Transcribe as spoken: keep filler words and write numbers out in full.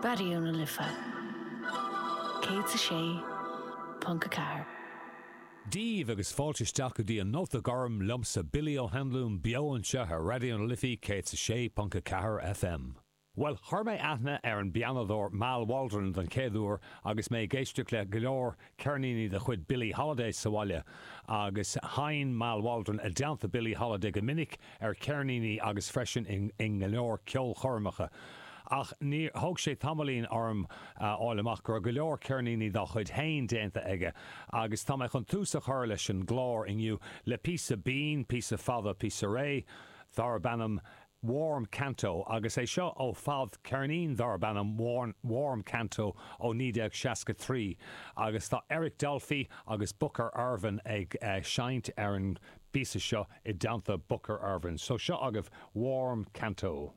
Raidió na Life céad a sé ponc a ceathair. Díomh agus fáilte isteach go dtí an Nóta Gorm liomsa Billy Ó hAnluain beo anseo ar Raidió na Life céad a sé ponc a ceathair FM. Well chuir mé aithne ar an bpianóir Mal Waldron den chéad uair agus mé ag éisteacht le go leor ceirníní de chuid Billie Holiday sa bhaile agus sheinn Mal Waldron i dteannta Billie Holiday go minic ar cheirníní agus freisin in, in go leor ceolchoirmeacha. Ach ní thóg sé tamaillín orm fháil amach go go leor ceirníní dá chuid féin déanta aige, agus tá mé chun tús a chur leis an gclár inniu le píosa binn, píosa fada píosa réidh, darb ainm Warm Canto agus é seo ó fhadcheirnín darb ainm Warm, Warm Canto ó naoi déag seasca trí agus tá Eric Dolphy agus Booker Ervin ag uh, seinnt ar an bpíosa seo i dteannta Booker Ervin. So seo agaibh Warm Canto.